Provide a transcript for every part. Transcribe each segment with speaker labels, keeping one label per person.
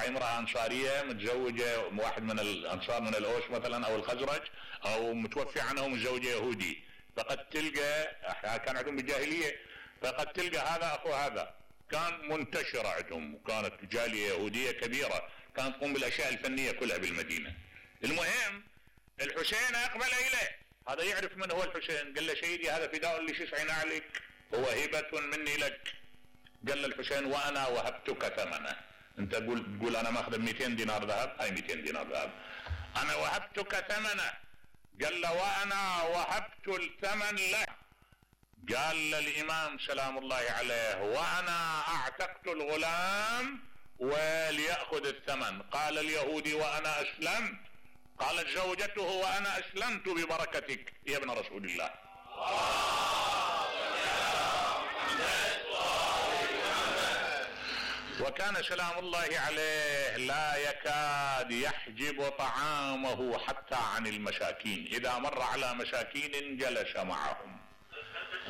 Speaker 1: هاي امرأة انصارية متزوجة واحد من الانصار من الاوس مثلا او الخزرج، او متوفي عنه متزوجة يهودي، فقد تلقى كان عندهم بالجاهلية، فقد تلقى هذا اخو هذا، كان منتشر عندهم، وكانت جالية يهودية كبيرة كانت تقوم بالاشياء الفنية كلها بالمدينة. المهم الحسين اقبل اليه، هذا يعرف من هو الحسين، قال له سيدي هذا فداء لشسع نعلك، هو هبة مني لك. قال له الحسين وانا وهبتك ثمنه، انت تقول انا ماخذ 200 دينار ذهب، هاي 200 دينار ذهب، انا وهبتك ثمنه. قال له وانا وهبت الثمن له. قال للامام سلام الله عليه وانا اعتقت الغلام وليأخذ الثمن. قال اليهودي وانا اسلمت. قالت زوجته وانا اسلمت ببركتك يا ابن رسول الله. وكان سلام الله عليه لا يكاد يحجب طعامه حتى عن المساكين، اذا مر على مساكين جلس معهم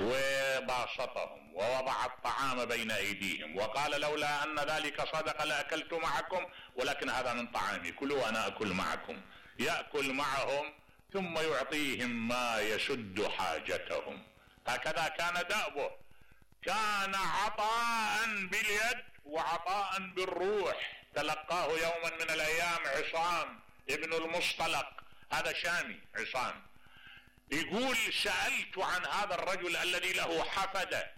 Speaker 1: وباسطهم ووضع الطعام بين ايديهم، وقال لولا ان ذلك صدق لاكلت معكم، ولكن هذا من طعامي كلوا وانا اكل معكم. يأكل معهم ثم يعطيهم ما يسد حاجتهم. هكذا كان دأبه، كان عطاء باليد وعطاء بالروح. تلقاه يوما من الايام عصام ابن المصطلق، هذا شامي عصام، يقول سألت عن هذا الرجل الذي له حفدة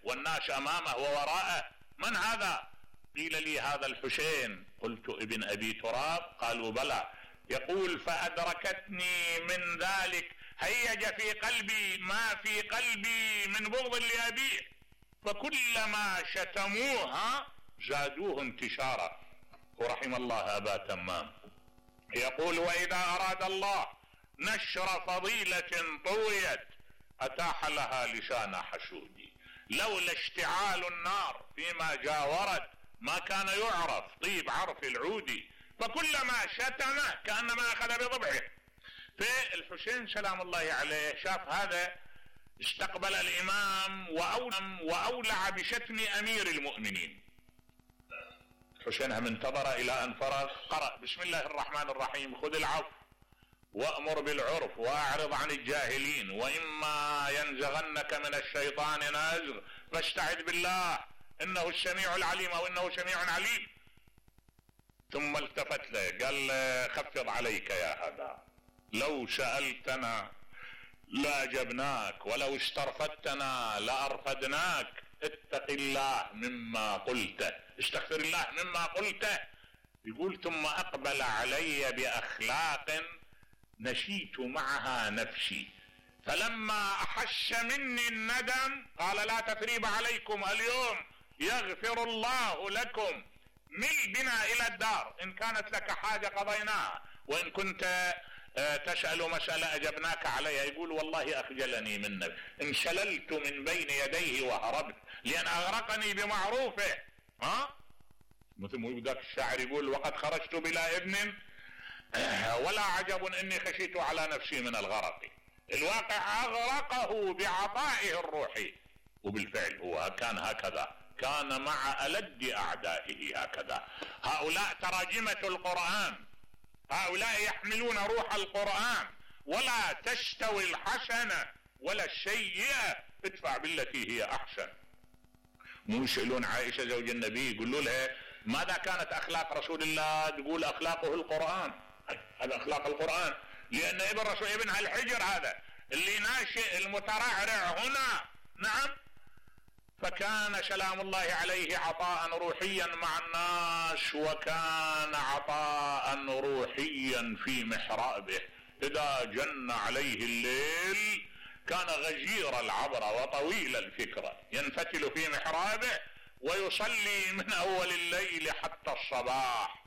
Speaker 1: والناس امامه ووراءه، من هذا؟ قيل لي هذا الحسين. قلت ابن ابي تراب؟ قالوا بلى. يقول فأدركتني من ذلك هيج في قلبي ما في قلبي من بغض لأبيه، فكلما شتموها زادوه انتشارا. ورحم الله أبا تمام. يقول وإذا أراد الله نشر فضيلة طويت أتاح لها لسان حشودي، لولا اشتعال النار فيما جاورت ما كان يعرف طيب عرف العودي، فكلما شتمه كأنما أخذ بضبعه. فالحسين سلام الله عليه شاف هذا، استقبل الإمام وأولع بشتم أمير المؤمنين. الحسين هم انتظر إلى أن فرغ، قرأ بسم الله الرحمن الرحيم خذ العفو وأمر بالعرف وأعرض عن الجاهلين وإما ينزغنك من الشيطان نزغ فاستعذ بالله إنه السميع العليم أو إنه سميع عليم. ثم التفت له قال خفض عليك يا هذا، لو سألتنا لأجبناك ولو استرفدتنا لأرفدناك، اتق الله مما قلته، استغفر الله مما قلته. يقول ثم أقبل علي بأخلاق نشيت معها نفسي، فلما أحس مني الندم قال لا تثريب عليكم اليوم يغفر الله لكم، مل بنا إلى الدار، إن كانت لك حاجة قضيناها وإن كنت تسأل مسألة أجبناك عليها. يقول والله أخجلني منك، انشللت من بين يديه وهربت لأن أغرقني بمعروفه. مثل ما ذاك الشاعر يقول وقد خرجت بلا ابن ولا عجب إني خشيت على نفسي من الغرق. الواقع أغرقه بعطائه الروحي، وبالفعل هو كان هكذا، كان مع ألد أعدائه هكذا. هؤلاء تراجمة القرآن، هؤلاء يحملون روح القرآن، ولا تستوي الحسنة ولا السيئة ادفع بالتي هي أحسن. مو يسألون عائشة زوج النبي يقولوا لها ماذا كانت أخلاق رسول الله؟ تقول أخلاقه القرآن، هذا أخلاق القرآن، لأن ابنها الحجر هذا اللي ناشئ المترعرع هنا. نعم. فكان سلام الله عليه عطاء روحيا مع الناس، وكان عطاء روحيا في محرابه. إذا جن عليه الليل كان غزير العبرة وطويل الفكرة، ينفتل في محرابه ويصلي من أول الليل حتى الصباح.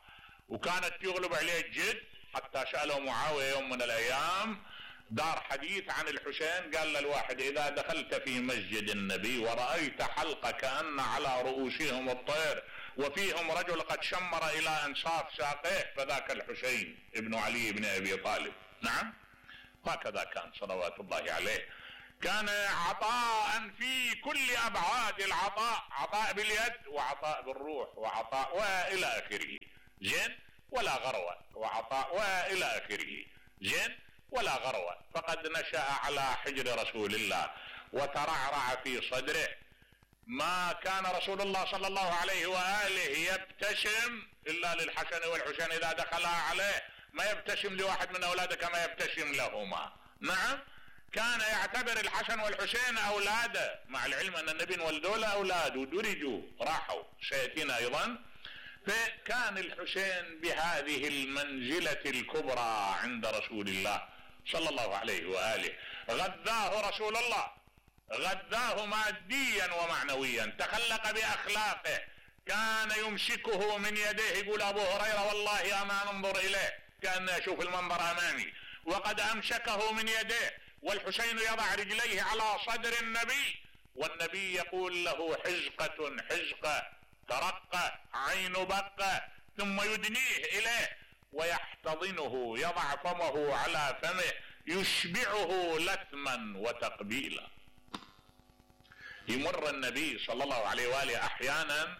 Speaker 1: وكانت يغلب عليه الجد حتى سأله معاوية يوم من الأيام، دار حديث عن الحسين، قال للواحد إذا دخلت في مسجد النبي ورأيت حلقة كأن على رؤوسهم الطير وفيهم رجل قد شمر إلى أنصاف ساقيه فذاك الحسين ابن علي بن أبي طالب. نعم. هكذا كان صلوات الله عليه. كان عطاء في كل أبعاد العطاء، عطاء باليد وعطاء بالروح وعطاء وإلى آخره. زين، ولا غروة وعطاء والى اخره، زين، ولا غروة، فقد نشأ على حجر رسول الله وترعرع في صدره. ما كان رسول الله صلى الله عليه وآله يبتسم إلا للحسن والحسين إذا دخلا عليه، ما يبتسم لواحد من أولاده كما يبتسم لهما. نعم، كان يعتبر الحسن والحسين أولاده، مع العلم أن النبي ولدوا له أولاد ودرجوا راحوا سيأتينا أيضا. فكان الحسين بهذه المنزلة الكبرى عند رسول الله صلى الله عليه وآله. غذاه رسول الله، غذاه ماديا ومعنويا، تخلق بأخلاقه، كان يمسكه من يديه، يقول أبو هريرة والله أما أنظر إليه كأن أشوف المنظر أمامي، وقد أمسكه من يديه، والحسين يضع رجليه على صدر النبي، والنبي يقول له حزقة حزقة، ترقى عين بقى، ثم يدنيه إليه ويحتضنه، يضع فمه على فمه، يشبعه لثما وتقبيلا. يمر النبي صلى الله عليه وآله أحيانا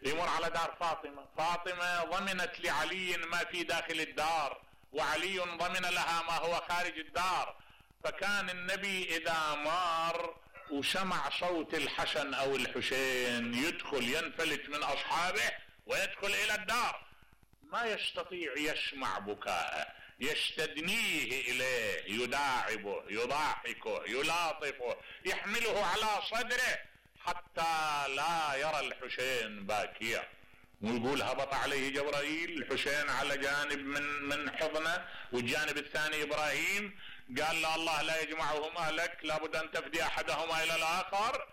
Speaker 1: يمر على دار فاطمة، فاطمة ضمنت لعلي ما في داخل الدار، وعلي ضمن لها ما هو خارج الدار. فكان النبي إذا مار وسمع صوت الحسن أو الحسين يدخل، ينفلت من أصحابه ويدخل إلى الدار، ما يستطيع يسمع بكاءه، يستدنيه إليه، يداعبه، يضاحكه، يلاطفه، يحمله على صدره حتى لا يرى الحسين باكيا. ويقول هبط عليه جبرائيل، الحسين على جانب من حضنه والجانب الثاني إبراهيم، قال له الله لا يجمعهم أهلك، لابد أن تفدي أحدهما إلى الآخر.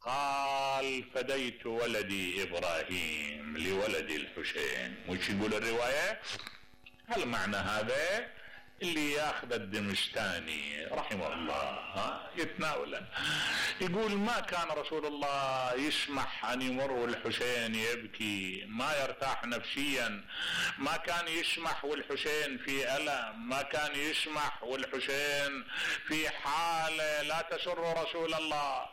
Speaker 1: قال فديت ولدي إبراهيم لولد الحسين. وش يقول الرواية؟ هل معنى هذا اللي ياخذ الدمشتاني رحمه الله يتناوله، يقول ما كان رسول الله يسمح أن يمر والحسين يبكي، ما يرتاح نفسيا، ما كان يسمح والحسين في ألم، ما كان يسمح والحسين في حالة لا تسر رسول الله.